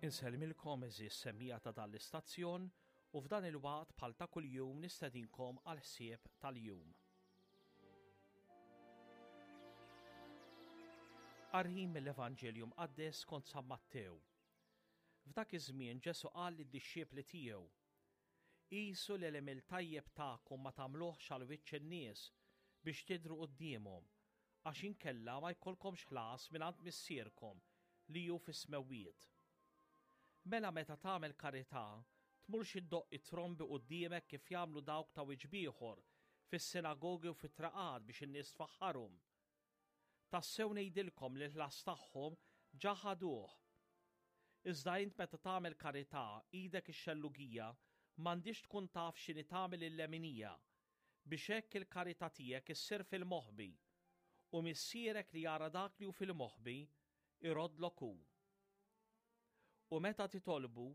Insellmilkom eżis semmija ta' dan l-istazzjon u f'dan il-waqt bħal ta' kuljum nistedinkom għal ħsieb tal-jum. Qari mill-Evanġelju Mqaddes skont San Mattew. F'dak iż-żmien Ġesù qal lid-dixxipli tiegħu, Qisu li l-għemil tajjeb tagħkom ma tagħmluhx għal wiċċ in-nies biex tidhru quddiemhom, għax inkella ma jkollkomx ħlas mingħand Missierkom li hu fis-smewwiet. Mela meta tagħmel karità, tmurx iddoqq it-trombi quddiemek kif jagħmlu dawk ta' wiċċ b'ieħor fis-sinagogi u fit-traqat biex in-nies tfaħħarhom. Tassew ngħidilkom li l-ħlas tagħhom ġa ħaduh. Iżda int meta tagħmel karità, idek ix-xellugija m'għandhiex tkun taf x'inhi tagħmel il-leminija, biex hekk il-karità tiegħek issir fil-moħbi, u Missierek li jara dak li hu fil-moħbi, iroddlok hu. U meta titolbu,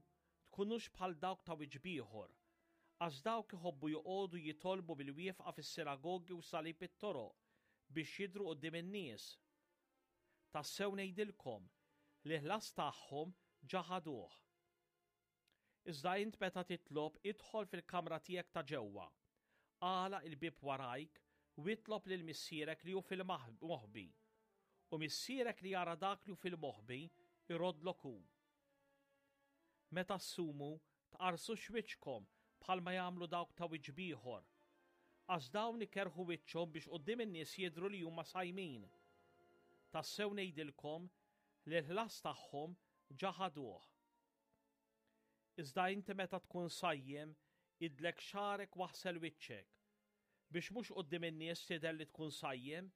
tkunux bħal dawk ta' wiċċ b'ieħor, għax dawk iħobbu joqogħdu jitolbu bil-wieqfa fis-sinagogi u salib it-toroq biex jidhru quddiem in-nies. Tassew ngħidilkom li l-ħlas tagħhom ġa ħaduh. Iżda int meta titlob idħol fil-kamra tiegħek ta' ġewwa, agħlaq il-bieb warajk u itlob lil Missierek li hu fil-moħbi. U Missierek li jara dak li hu fil-moħbi jroddlok hu. Meta ssumu, tqarrsux wiċċkom bħalma jagħmlu dawk ta' wiċċ b'ieħor, għax dawn ikerrħu wiċċhom biex quddiem in-nies jidhru li huma sajmin. Tassew ngħidilkom li l-ħlas tagħhom ġa ħaduh. Iżda inti meta tkun sajjem, idlek xagħrek waħsel wiċċek, biex mhux quddiem in-nies tidher li tkun sajjem,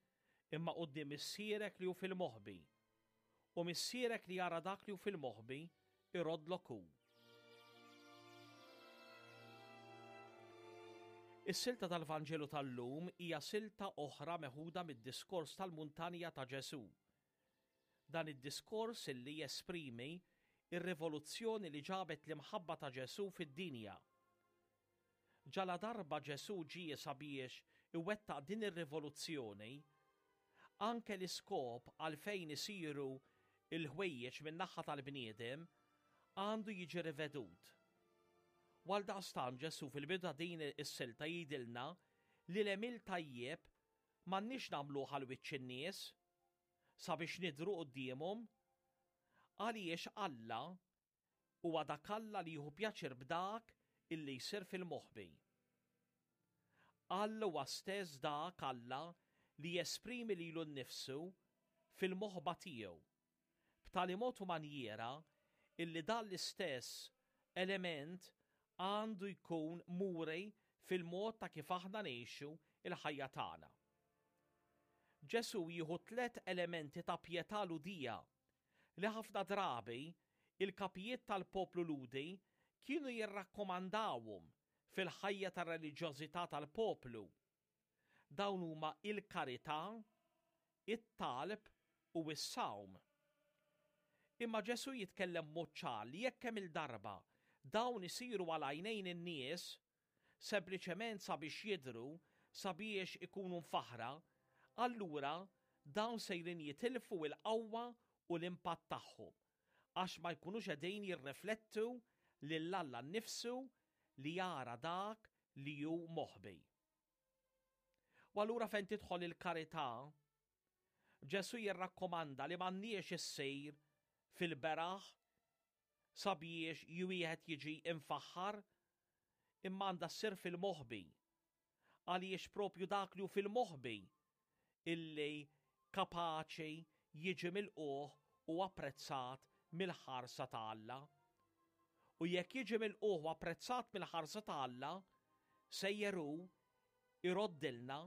imma quddiem Missierek li hu fil-moħbi. U Missierek li jara dak li hu fil-moħbi, iroddlok hu. Is-silta tal-Vanġelu tal-lum hija silta oħra meħuda mid-diskors tal-muntanja ta' Ġesù. Dan id-diskors illi jesprimi r-rivoluzzjoni li ġabet l-imħabba ta' Ġesù fid-dinja. Ġaladarba Ġesù ġie sabiex iwettaq din ir-rivoluzzjoni, anke l-iskop għalfejn isiru l-ħwejjeġ min-naħa tal-bniedem għandu jiġi rivedut. U għaldaqstant Ġesù fil-bidu ta' din is-silta jgħidilna li l-għemil tajjeb m'għandniex nagħmluh għal wiċċ in-nies, sabiex nidhru quddiemhom, għaliex Alla huwa dak Alla li jieħu pjaċir b'dak illi jsir fil-moħbi. Alla huwa stess dak Alla li jesprimi lilu nnifsu fil-moħba tiegħu, b'tali mod u manjiera illi dan l-istess element għandu jkun muri fil-mod ta' kif aħna ngħixu l-ħajja tagħna. Ġesù jieħu tlett elementi ta' pjetà Lhudija li ħafna drabi il-kapijiet tal-poplu Lhudi kienu jirrakkomandawhom fil-ħajja tar-reliġjożità tal-poplu. Dawn huma il-karità, it-talb u s-sawm. Imma Ġesù jitkellem b'mod ċar li jekk kemm-il darba dawn isiru għal għajnejn in-nies, sempliċement sabiex jidhru, sabiex ikunu mfaħħra, allura dawn sejrin jitilfu l-qawwa u l-impatt tagħhom, għax ma jkunux qegħdin jirriflettu lil Alla nnifsu li jara dak li hu moħbi. U allura fejn tidħol il-karità, Ġesù jirrakkomanda li m'għandniex issir fil-beraħ sabiex wieħed jiġi imfaħħar, imma għandha ssir fil-moħbi. Għaliex propju dak li hu fil-moħbi illi kapaċi jiġi milqugħ u apprezzat mill-ħarsa ta' Alla. U jekk jiġi milqugħ u apprezzat mill-ħarsa ta' Alla, sejjer hu iroddilna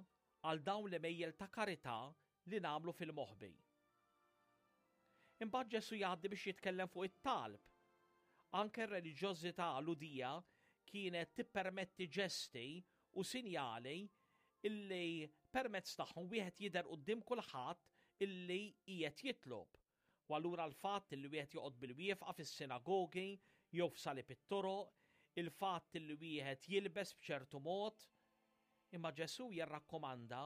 għal dawn l-għemejjel ta' karità li nagħmlu fil-moħbi. Imbagħad Ġesù jgħaddi biex jitkellem fuq it-talb. Anke r-reliġjożità Lhudija kienet tippermetti ġesti u sinjali illi permezz tagħhom wieħed jidher quddiem kulħadd illi qiegħed jitlob. U allura l-fatt li wieħed joqgħod bil-wieqfa fis-sinagogi jew f'salib it-toroq, il-fatt li wieħed jilbes b'ċertu mod. Imma Ġesù jirrakkomanda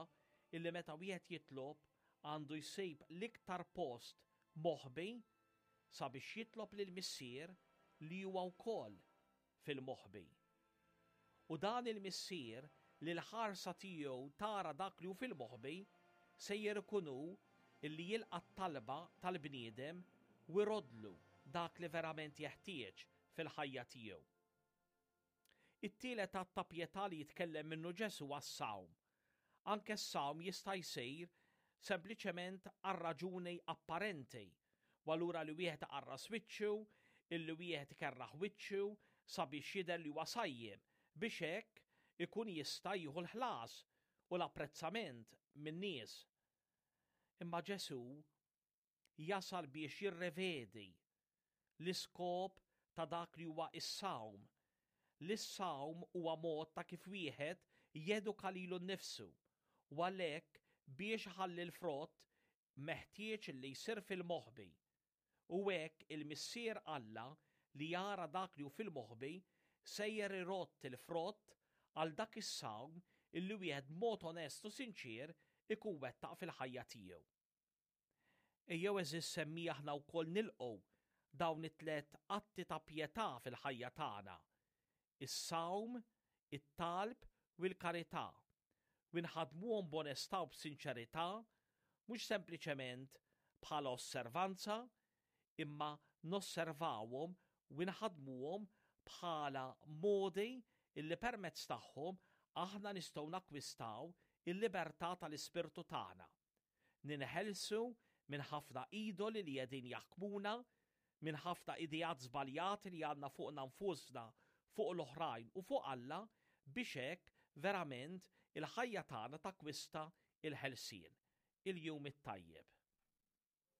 illi meta wieħed jitlob għandu jsib l-iktar post moħbi. sabiex jitlob lill-Missier li huwa wkoll fil-moħbi. U dan il-Missier li l-ħarsa tiegħu tara dak li hu fil-moħbi, sejjer ikun hu illi jilqa' t-talba tal-bniedem u jroddlu dak li verament jeħtieġ fil-ħajja tiegħu. It-tielet att ta' pjetà li jitkellem minnu Ġesù huwa s-sawm. Anke s-sawm jista' jsir sempliċement għal raġuni apparenti, u allura li wieħed iqarras wiċċu, illi wieħed ikerraħ wiċċu sabiex jidher li huwa sajjem, biex hekk ikun jista' jieħu l-ħlas u l-apprezzament min-nies. Imma Ġesù jasal biex jirrevedi l-iskop ta' dak li huwa s-sawm, li s-sawm huwa mod ta' kif wieħed jeduka lilu nnifsu u għalhekk biex iħalli l-frott meħtieġ li jsir fil-moħbi. U hekk il-Missier Alla li jara dak li hu fil-moħbi sejjer irodd il-frott għal dak is-sawm illi wieħed b'mod onest u sinċier ikun wettaq fil-ħajja tiegħu. Ejjew għeżież semmiegħa aħna wkoll nilqgħu dawn it-tlett atti ta' pjetà fil-ħajja tagħna, is-sawm, it-talb u l-karità, u nħaddmuhom b'onestà u b'sinċerità, mhux sempliċement bħala osservanza, imma nosservawhom u nħaddmuhom bħala modi illi permezz tagħhom aħna nistgħu nakkwistaw il-libertà tal-ispirtu tagħna. Ninħelsu minn ħafna idoli li qegħdin jaħkmuna, minn ħafna ideat żbaljati li għandna fuqna nfusna, fuq l-oħrajn u fuq Alla biex hekk verament il-ħajja tagħna takkwista l-ħelsien. Il-jum it-tajjeb.